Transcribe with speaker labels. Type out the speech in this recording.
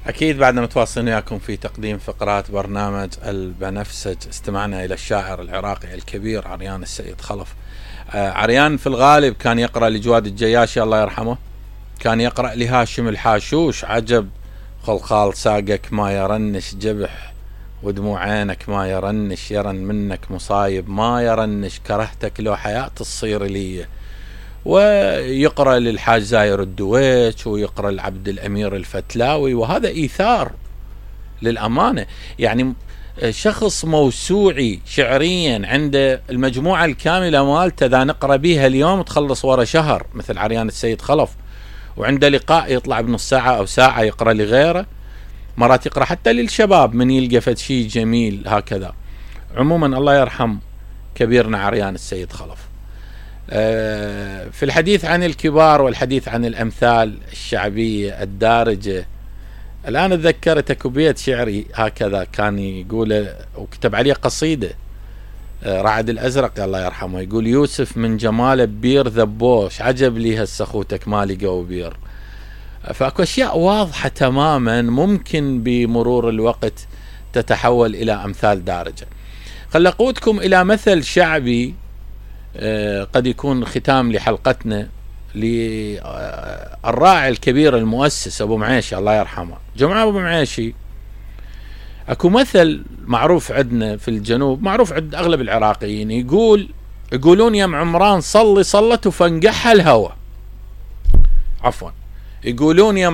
Speaker 1: أكيد بعدنا متواصلين وياكم في تقديم فقرات برنامج البنفسج. استمعنا إلى الشاعر العراقي الكبير عريان السيد خلف. عريان في الغالب كان يقرأ لجواد الجياشي الله يرحمه، كان يقرأ لهاشم الحاشوش عجب خلخال ساقك ما يرنش جبح ودموع عينك ما يرنش يرن منك مصايب ما يرنش كرهتك لو حياة تصير لي. ويقرأ للحاج زاير الدويش ويقرأ لعبد الأمير الفتلاوي، وهذا إيثار للأمانة. يعني شخص موسوعي شعريا عنده المجموعة الكاملة مالته إذا نقرأ بيها اليوم تخلص ورا شهر مثل عريان السيد خلف، وعنده لقاء يطلع بنص ساعة أو ساعة يقرأ لغيره، مرات يقرأ حتى للشباب من يلقى فد شيء جميل هكذا. عموما الله يرحم كبيرنا عريان السيد خلف. في الحديث عن الكبار والحديث عن الأمثال الشعبية الدارجة، الآن تذكرت اكو بيت شعري هكذا كان يقول وكتب عليه قصيدة رعد الأزرق الله يرحمه، يقول يوسف من جماله بير ذبوش عجب لي هالسخوتك ما لقوا بير. فاكو أشياء واضحة تماما ممكن بمرور الوقت تتحول إلى أمثال دارجة. خل أقودكم إلى مثل شعبي قد يكون ختام لحلقتنا للراعي الكبير المؤسس أبو معيشي الله يرحمه. جماعة أبو معيشي أكو مثل معروف عندنا في الجنوب، معروف عند أغلب العراقيين، يقولون يا عمران صلي صلت وفنقحها الهوى، عفوا يقولون يا